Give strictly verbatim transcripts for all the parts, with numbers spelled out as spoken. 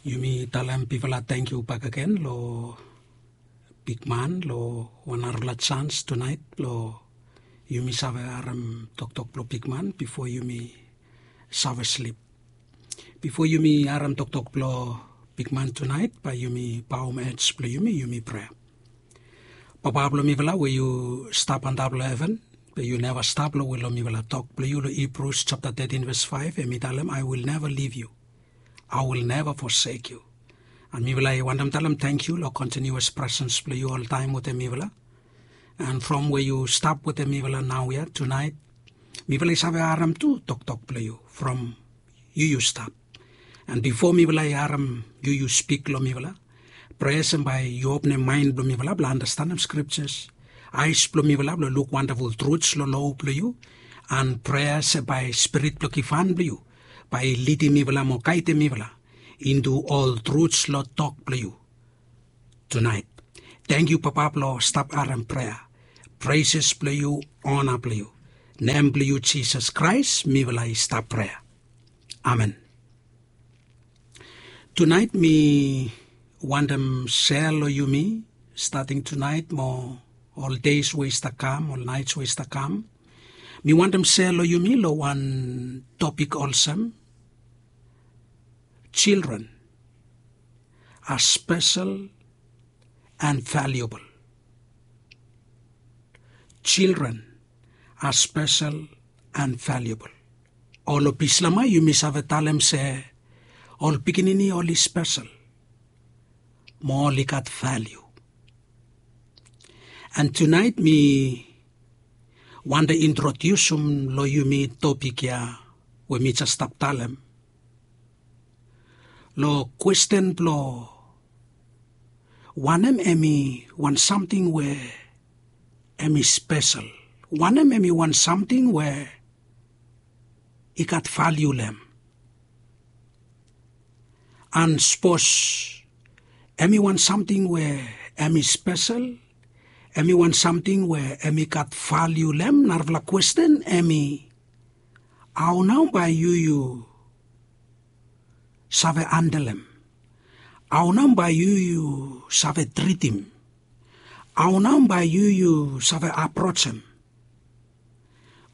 Yumi talem bifala tangkiu bakegen long bigman long wan narafala jans tunaet blong yumi save harem toktok blong bigman bifo yumi save slip. Bifo yumi harem toktok blong bigman tunaet, bae yumi baom ej blong yumi, yumi prea. Papa blong mifala we yu stap antap long heven, be yu neva stap long we long mifala tok blong yu long Hibrus japta tetin ves faef, hem i talem, "I will never leave you. I will never forsake you." An mifala i wantem talem tangkiu long kontiniuas presens blong yu oltaem wetem mifala. An from we yu stap wetem mifala naoia tunaet, mifala i save harem tu toktok blong yu from yu yu stap. An bifo mifala i harem yu yu spik long mifala, prea se bae yu openem maen blong mifala blong andastanem skriptas, aes blong mifala blong luk wandaful truts long lo blong yu, an prea se bae spirit blong givhan blong yu bae i lidim mifala mo gaedem mifala intu ol truts long tok blong yu tunaet. Tangkiu Papa blong stap harem prea. Preses blong yu, ona blong yu. Nem blong yu Jisas Kraes mifala i stap prea. Amen. Tunaet mi wantem sea long yumi, stating tunaet mo ol deis we i stap kam, ol naets we i stap kam, mi wantem sea long yumi long wan topik olsem, children are special and valuable. Children are special and valuable. Ol obislama yumi save talem se ol pikinini oli spesel mo oli gat valiu. An tunaet mi wantem introdiusim long yumi topik ya we mi jes stap talem long kwesten blong wanem hem i wan samting we hem i spesel, wanem hem i wan samting we i gat valiu long hem. An sapos hem i wan samting we hem i spesel, hem i wan samting we hem i gat valiu long hem, narafala kwesten hem i, hao nao bae yu yu save handlem? Hao nao bae yu yu save tritim? Hao nao bae yu yu save aprojem?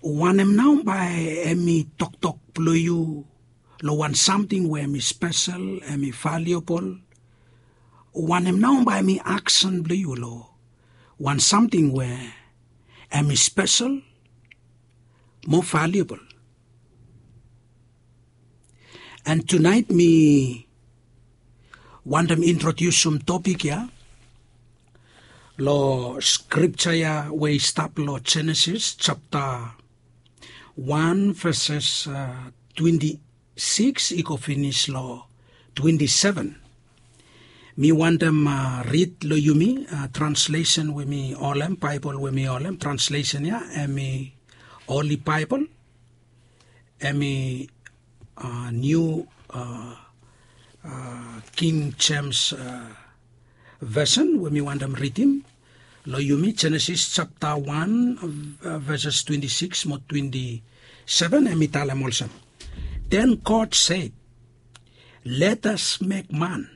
Wanem nao bae hem i toktok blong yu long wan samting we hem i spesel, hem i valiabol? Wanem nao bae hem i aksen blong yu long wan samting we hem i spesel mo valiabol? An tunaet mi wantem introdiusim topik ya long skripta ya we i stap long Jenesis japta wan veses twenti sikis i go finis long twenti seven. Mi wantem rid long yumi translesen we mi holem, Baebol we mi holem, translesen ya hem i Holi Baebol, hem i niu King Jems vesen we mi wantem ridim long yumi, Jenesis japta wan veses twenti sikis mo twenti seven, hem i talem olsem, "Then God said, 'Let us make man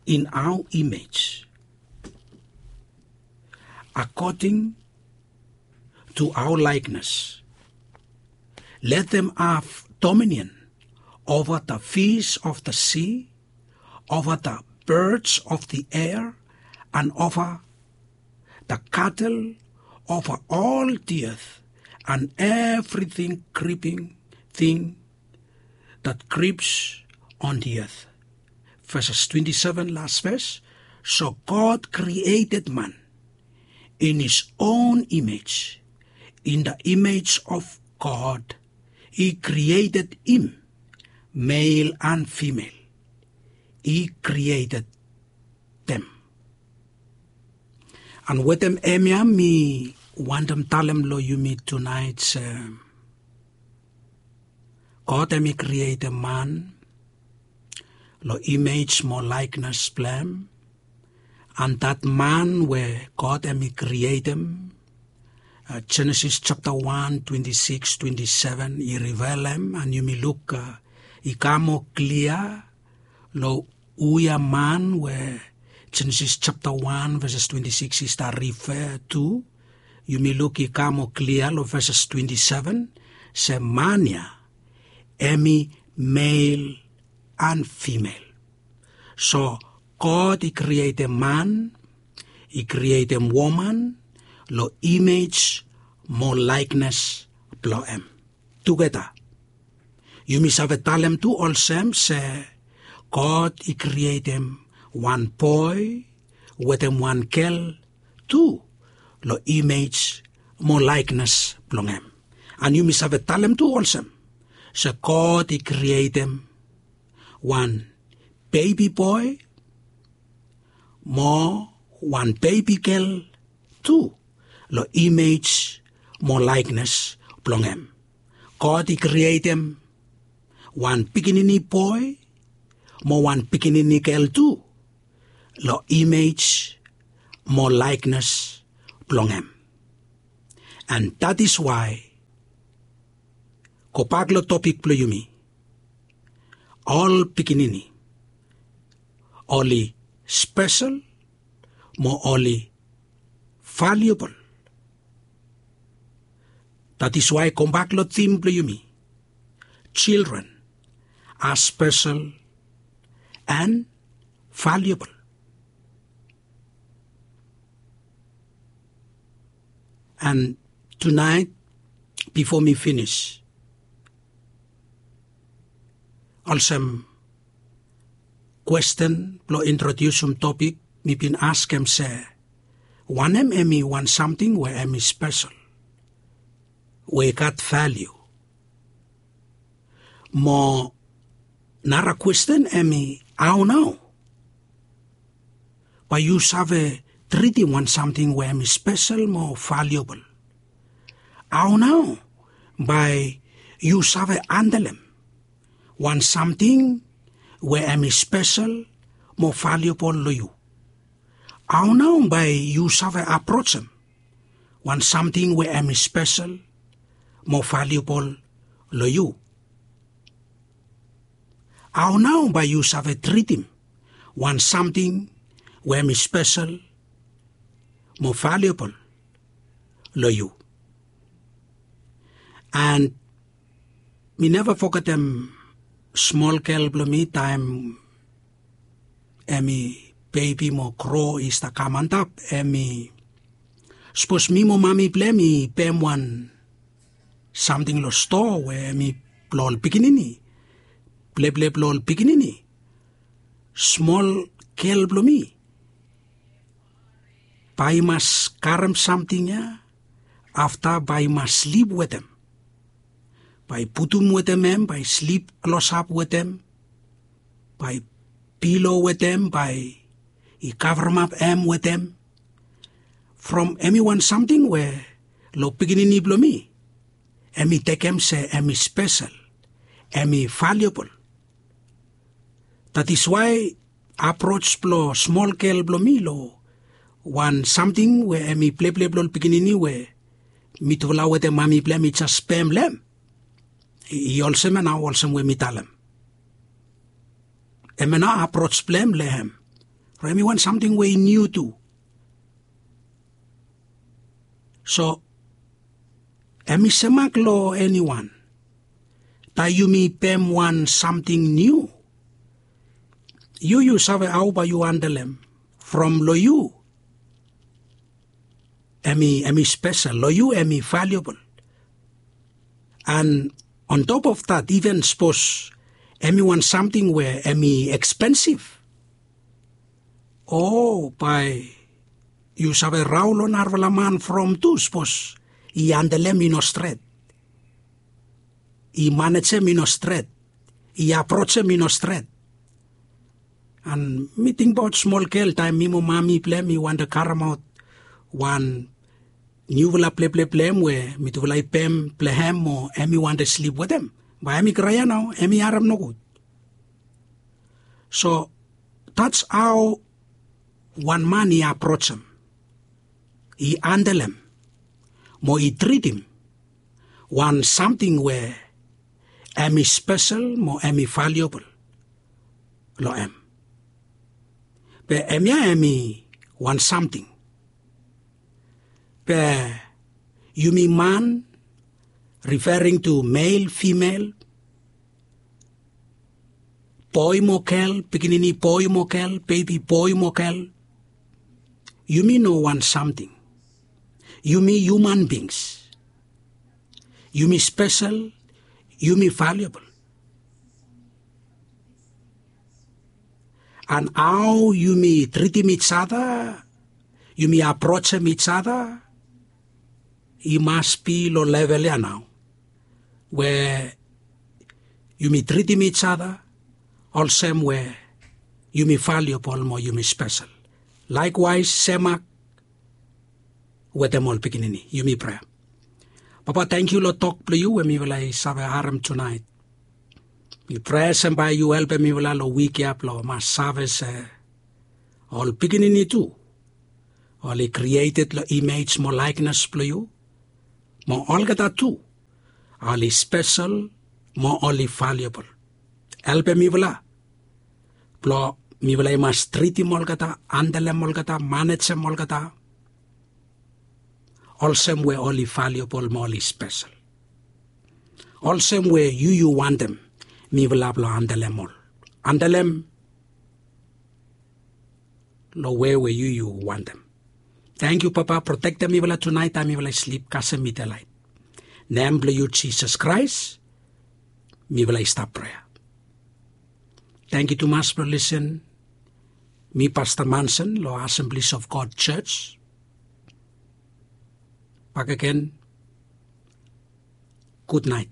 in our image, according to our likeness. Let them have dominion over the fish of the sea, over the birds of the air, and over the cattle, over all the earth, and everything creeping thing that creeps on the earth.'" Verses twenty-seven, last verse. "So God created man in his own image. In the image of God, he created him. Male and female, he created them." An wetem hemia mi wantem talem long yumi tunaet se God hem i krietem man long imej mo laeknes blong hem. An dat man we God hem i krietem, Jenesis japta wan twenti sikis twenti seven i rivelem, an yumi luk i kam moa klia Long hu ya man we Jenesis japta wan veses twenti sikis i stap rifea tu, yumi luk i kam moa klia long veses twenti seven se man ya hem i mel an fimel. So God i krietem man, i krietem woman long imej mo laeknes blong hem. Tugeta yumi save talem tu olsem se God i krietem wan boe wetem wan gel tu long imej mo laeknes blong hem. An yumi save talem tu olsem se God i krietem wan bebi boe mo wan bebi gel tu long imej mo laeknes blong hem. God i krietem wan pikinini boe mo wan pikinini gel tu long imej mo laeknes blong hem. An dat is wae, gobak long topik blong yumi, ol pikinini oli spesel mo oli valiabol. Dat is wae gobak long tim blong yumi, children are special and valuable. An tunaet bifo mi finis, olsem kwesten blong introdiusim topik, mi bin askem se wanem hem i wan samting we hem i spesel, we i gat valiu? Mo nara kwesten hem i, hao nao bae yu save tritim wan samting we hem i spesel mo valiabol? Hao nao bae yu save andelem wan samting we hem i spesel mo valiabol long yu? Hao nao bae yu save aprojem wan samting we hem i spesel mo valiabol long yu? Hao nao bae yu save tritim wan samting we hem i spesel mo valiabol long yu? An mi neva fogetem smol gel blong mi taem hem i bebi mo gro i stap kam antap, hem i, sapos mi mo mami blong hem i pem wan samting long stoa we hem i blong ol pikinini, pleple blong ol pikinini, smol gel blong mi bae i mas karem samting ya, afta bae i mas slip wetem, bae i putum wetem hem, bae i slip klosap wetem, bae i pilo wetem, bae i kavremap hem wetem from hem i wan samting we long pikinini blong mi hem i tekem se hem i spesel, hem i valiabol. Dat is wae aproj blong smol gel blong mi long wan samting we hem i pleple blong ol pikinini we mitufala wetem mami blong hem i jes pem long hem. I olsem ya nao, olsem we mi talem, hemia nao aproj blong hem long hem, from hem i wan samting we i niu tu. So hem i semak long eniwan taem yumi pem wan samting niu. Yu yu save hao bae yu andelem from long yu hem i, hem i spesel, long yu hem i valiabol. An on top of that, iven sapos hem i wan samting we hem i ekspensif, o bae yu save rao long narafala man from tu sapos i andelem i no stret, i manejem i no stret, i aprojem i no stret. An mi tingbaot smol gel taem mi mo mami blong hem i wantem karemaot wan niufala pleple blong hem we mitufala i pem blong hem mo hem i wantem slip wetem, bae hem i kraea nao, hem i harem nogud. So that's how wan man i aprojem, i andelem mo i tritim wan samting we hem i spesel mo hem i valiabol. long hem. Be hemia hem i wan samting. Be yumi man, referring to male, female, boe mo gel, pikinini boe mo gel, bebi boe mo gel, yumi no wan samting. Yumi human beings. Yumi spesel, yumi valiabol. An hao yumi tritim ijada, yumi aprojem ijada, i mas bi long level ya nao we yumi tritim ijada olsem we yumi valiabol mo yumi spesel. Laekwaes semak wetem ol pikinini. Yumi prea. Papa, tangkiu long tok blong yu we mifala i save harem tunaet. Mi prea se bae yu helpem mifala long wik ya blong mas save se ol pikinini tu oli krieted long imej mo laeknes blong yu, mo olgeta tu oli spesel mo oli valiabol. Helpem mifala blong mifala i mas tritim olgeta, andalem olgeta, manejem olgeta olsem we oli valiabol mo oli spesel. Olsem we yu yu wantem mifala blong andalem ol. Andalem long we we yu yu wantem. Tangkiu Papa, protektem mifala tunaet taem mifala i slip kasem mitelaet. Nem blong yu Jisas Kraes mifala i stap prea. Tangkiu tumas blong lisen. Mi Pasta Manson long Assemblies of God Church. Bakegen. Gutnaet.